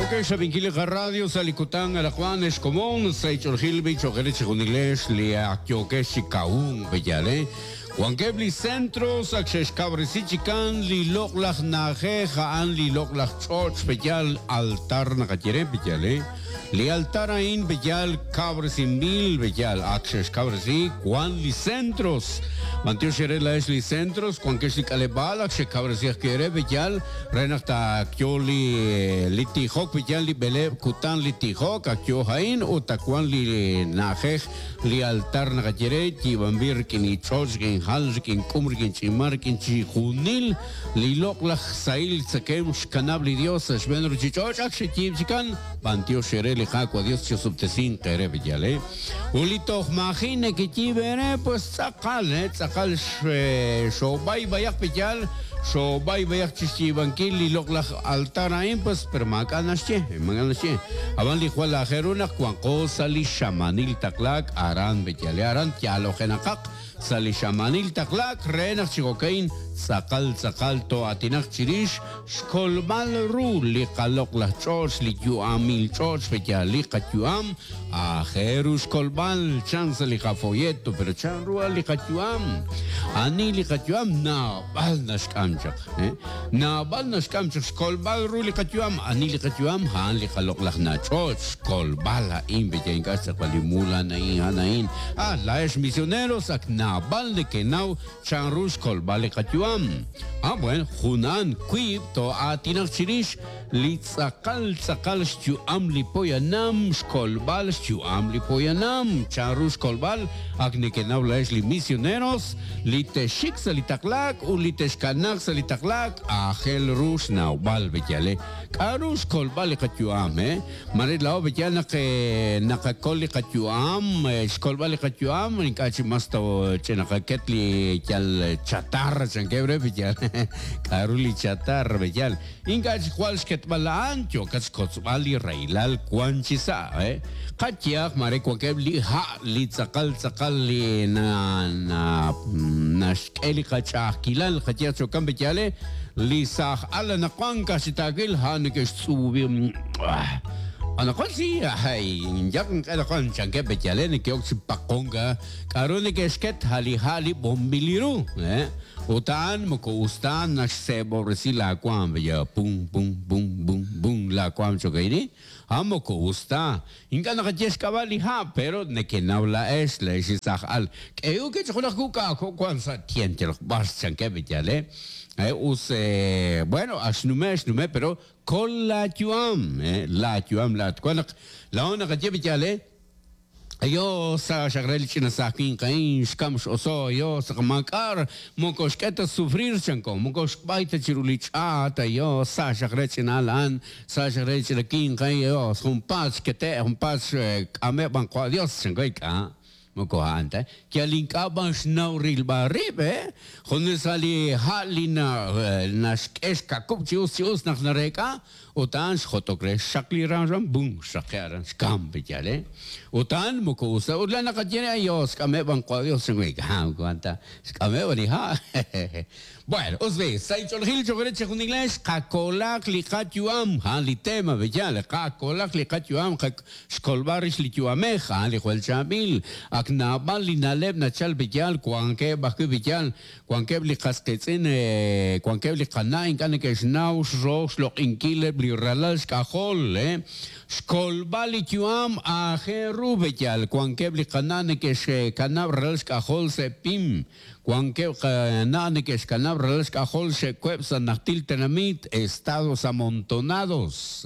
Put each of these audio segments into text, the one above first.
Yookeb' xrab'inkil li qaradio sa' li kutan anaqwan ex komon sa' ich'olojil b'i cho'q eere chejunilex li ak yookex chi kawunk pe'yaal eh? Wankeb' li centros ak xe'xkawresi chikan li loq'laj na'ajej a'an li loq'laj ch'och' pe'yaal altar naqaye re pe'yaal eh? Li altar a'in pe'yaal kawresinb'il pe'yaal ak xe'xkawresi wan li centros. B'antiox eere laa'ex li centros wankex li k'aleb'aal ak xekawresi ajwi' eere pe'yaal re naq taakyo li li tijok pe'yaal li b'eleeb' kutan li tijok ak yo a'in ut ak wan li na'ajej Li altar naqaye re, yiib'anb'il rik'in li ch'och', rik'in hal, rik'in k'um, rik'in ch'imal, rik'in chixjunil li loq'laj sahil tzakemq xkanab' li Dios sa' xb'een ruchich'och' ak xeyiib' chikan, b'antiox eere li Qaawa' Dios chisob'tesinq eere b'iyal, eh. Ut li toj maaji' nekeyiib' eere, pues tz'aqal, eh, tz'aqal xoob'ay b'ayaq b'iyal, xoob'ay b'ayaq chixyiib'ankil li loq'laj altar a'in, pues, pero maak'a' naxye, maak'a' naxye. Ab'an li jwal aajel ru naq wanqo sa' li xamaanil taqlaak aran B'eyale, aran yaalojenaqaq sa' li xamaanil taqlaak re naq chi jo'ka'in tz'aqal tz'aqal too'aatinaq chirix xkolb'al ru li qaloq'laj ch'och', li yu'amil ch'och' B'eyal, li qayu'am aajel ru xkolb'al chan sa' li qafolleto, pero chan ru li qayu'am? Ani li qayu'am? Naab'al naxk'am chaq. Naab'al naxk'am chaq xkolb'al ru li qayu'am. Ani li qayu'am? A'an li qaloq'laj nach'och'. Xkolb'al a'in, pe'ya ink'a' xtz'eqb'al li mul, a'an a'in, a'an a'in. Ah, laa'ex misioneros ak naab'al nekenaw chanru xkolb'al li qayu'am. Ah, bueno, jun a'an, wiib' too'aatinaq chirix li tz'aqal tz'aqal xyu'am li poyanam, xkolb'al xyu'am li poyanam. Chanru xkolb'al? Ak nekenaw laa'ex li misioneros, li texxik sa' li taqlaak ut li texkanaaq sa' li taqlaak, aajel ru xnawb'al b'eyal. K'a'ru xkolb'al li qayu'am? Maare laa'o b'eyal naq naqakol li qayu'am, xkolb'al li qayu'am, ink'a' chi mas ch'inaqaket li yal chatarra chankeb' re b'eyal. K'a'ru li chatarra b'eyal? Ink'a' chik jwal xketb'al a'an, yookat xkotzb'al li rahilal wank chi sa'. Qayehaq maare wankeb' li ha' li tz'aqal tz'aqal li naxk'e li qach'a'ajkilal, qayehaq chi jo'kan pe'yaal li saaj al anaqwan ka'aj chi taawil ha' neke'xtz'uubi anaqwan si yak anaqwan chankeb' pe'yaal neke'ok chi paqonk k'aru neke'xket a' li ha' li b'onb'il ru. Ut a'an moko us ta naxseeb'ob'resi laawaanm, ya pum, pum, pum, pum, pum laawaanm cho'q A'an moko us ta. Ink'a' naqaye xk'ab'a' li ha', pero nekenaw laa'ex, laa'ex li saaj al. K'ehok chi junaq kuk'a jo' wank sa' tient yalaq b'ar chankeb' yaal eh. Us, bueno, ak xnume' xnume' pero kol laayu'am, laayu'am laa'at. Wan naq laa'o naqaye yaal eh. Yo sa xaq re li ch'ina saaj winq a'in xkam x'oso, yo sa maak'a' moko xk'e ta sufrir chanko, moko xb'ay ta chiru li ch'aat, yo sa xaq re ch'ina al a'an, sa xaq re li ch'ina winq a'in, yo junpaat xkete', junpaat xk'ame' b'an qwa' Dios chanko, ink'a', moko a'an ta, yal ink'a' b'an xnaw rilb'al rib', eh, junes sa' li ha' li naxk'e xkakub' chi us chi us naq nareek'a. Ut a'an xjotok re xxaq li ram ram, bum, xraqe' aran, xkamk pe yaal, eh. Ut a'an moko us ta. Ut laa'in naqaye re, Ay, xk'ameb' b'an qwa' Dios, chan we, ha, moko a'an ta, xk'ameb' b'an li ha'. Bueno, us b'i', sa' inch'oolejil cho'q re chejunilex, qakolaq li qayu'am, a'an li tema pe yaal, qakolaq li qayu'am, xkolb'al rix li yu'amej, a'an li jwal chaab'il. Ak naab'al li na'leb' nachal pe yaal, wankeb' ajwi' pe yaal, Wankeb' li qas qiitz'in, wankeb' li qana' ink'a' neke'xnaw xro xloq'inkil eb' li ralal xk'ajol. Xkolb'al li yu'am aajel ru b'eyal. Wankeb' li qana' neke'xkanab' ralal xk'ajol sa' pim. Wankeb' qana' neke'xkanab' ralal xk'ajol xe'web' sa' najtil tenamit, estados amontonados.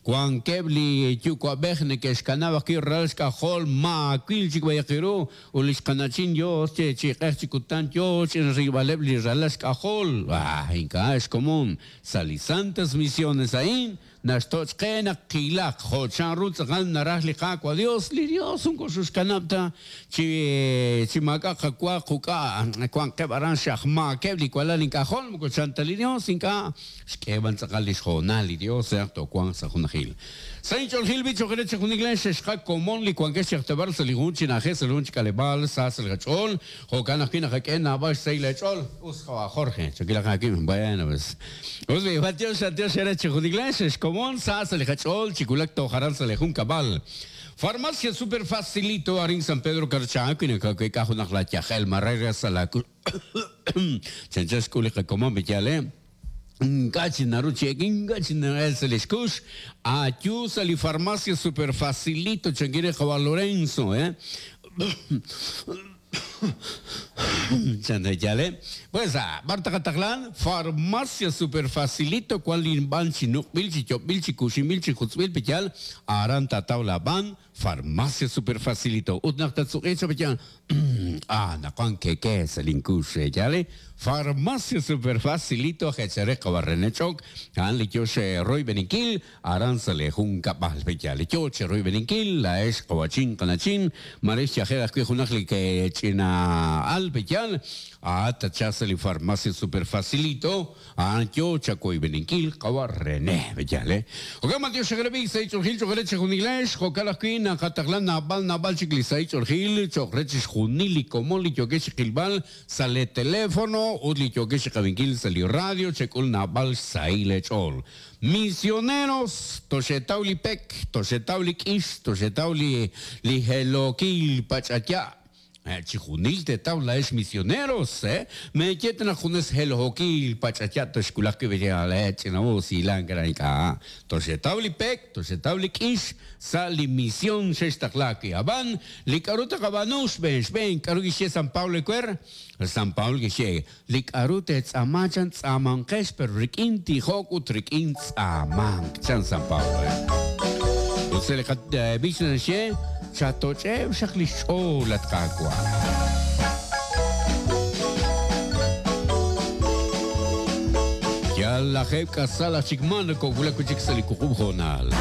Wankeb' li yuwa'b'ej neke'xkanab' ajwi' ralal xk'ajol maawil chik b'ayaq ru. Ut li xqana'chin Yos che chi q'eq chi kutan yo chi rilb'aleb' li ralal xk'ajol, ah, ink'a' xkomon sa' li santas misiones a'in, naxtoch' qe naq qilaq jo' chanru tz'aqal naraj li Qaawa' Dios, li Dios moko xoxkanab' ta chi chi maak'a' qawa quk'a', wanqeb' aran xajmaakeb' li walal ink'ajol, moko chan ta li Dios, ink'a' xk'e b'an tz'aqal lix hoonal li Dios re naq toowanq sa' junajil. Sa' inch'oolejil b'i choq' re chejunilex xexqa komon li wankex chi aj teb'ar sa' li jun chi na'ajej sa' li jun chi k'aleb'aal sa sa' li qach'ool, jo'kan ajwi' naqak'e naab'al xsahil eech'ool. Us qawa' Jorge, chakilaq aawib'. Bueno, pues. Us b'i, b'antiox, b'antiox eere chejunilex. chejunilex xkomon sa sa' li qach'ool chi wulak toj aran sa' li junkab'al. Farmacia Super Facilito arin San Pedro Carchá wi nakaweek'a junaq laayajel mare re sa' laaku chanchan xk'ul li qakomon pe'yaal eh? Ink'a' chi naru chi ek, ink'a' chi na'el sa' li xkux. Ayu sa' li Farmacia Super Facilito chankin re qawa' Lorenzo eh? Chan re yaal eh? Pues, b'ar taqataqlan? Farmacia Super Facilito wan li b'an chi nuq'b'il, chi yob'b'il, chi kuxinb'il, chi jutz'b'il, pe'yaal aran taataw laab'an. Farmacia Super Facilito. Ut naq tatsuq'i cha pe'yaal, ah, naqwan keke sa' linkux re yaal eh? Farmacia Super Facilito aj eechal re qawa' René Ch'ok, a'an li yo xroyb'eninkil aran sa' lee junkab'al. Pe'yaal li yo cheroyb'eninkil laa'ex qawa'chin qana'chin, mare xyajel ajwi' junaq li ch'ina al pe'yaal, a'at tatchalq sa' li Farmacia Super Facilito. A'an yo chawoyb'eninkil qawa' René. Pe'yaal, eh? Jo'kan b'antiox xeqrab'i sahil ch'oolejil cho'q re chejunilex, jo'kan ajwi' naqataqla naab'al naab'al chik li sahil ch'oolejil cho'q re chixjunil li komon li yookex chi qilb'al sa' lee teléfono ut li yookex chi qab'inkil sa' li radio, chek'ul naab'al xsahil eech'ool. Misioneros, toxeetaw li pek, toxeetaw li k'ix, toxeetaw li li helhookil pach'aya'. Chijunil teetaw laa'ex misioneros, meeye ta naq junes helhookil pach'aya' toxwulaq wi' b'e ch'ina'us hilank aran ink'a'. Toxeetaw li pek, toxeetaw li k'ix sa' li mision xextaqlaak wi'. Ab'an, li k'a'ru taqab'aanu xb'een xb'een, k'a'ru kixye San Pablo ewer? San Pablo kixye, Li k'a'ru teetz'aama chan tz'aamanqex pero rik'in tijok ut rik'in tz'aamank, chan San Pablo. Ut sa' li qab'ich naxye, Chatoch'eb' xaq li xch'ool, at Qaawa'. Yal lajeeb' k'asal aj chik maa nokowulak wi' chik sa' li wuqub' hoonal.